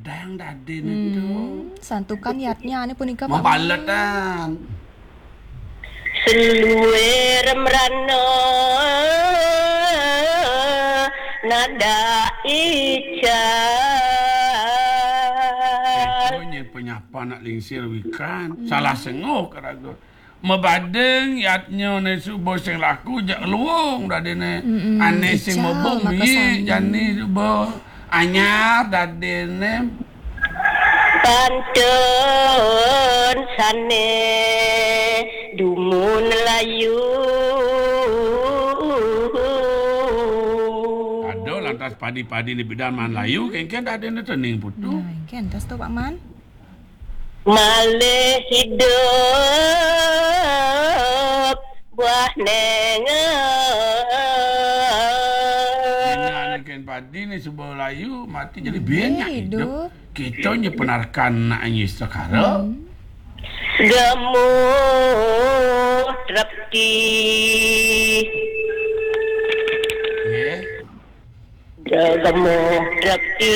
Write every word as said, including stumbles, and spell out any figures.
Mabaletan dadiné to. Hmm, santukan yatnyané punika, Paman. Mabaletan. Seluir merana nada ical. Ento nyén penyapa nak lingsir wikan. Hmm. Salah senguh karaga. Mabading yatnyané suba sing laku jak luung dadiné. Mm-mm. Ané sing ical mabung maka miik sami. Jani suba anyar dadiné. Pantun sané dumun layu. Ada lantas padi-padi ni bidan maan layu, kénkén dadiné tening putu. Nah, kénkén tas to, Paman. Malih idup buah néngé. Dina ané kén padi ni suba layu, mati jadi bién nyak idup. Idup. Kita nya penarikan nak nyi sekara. Hmm. Gemuh trepti. Nggih. Gemuh trepti.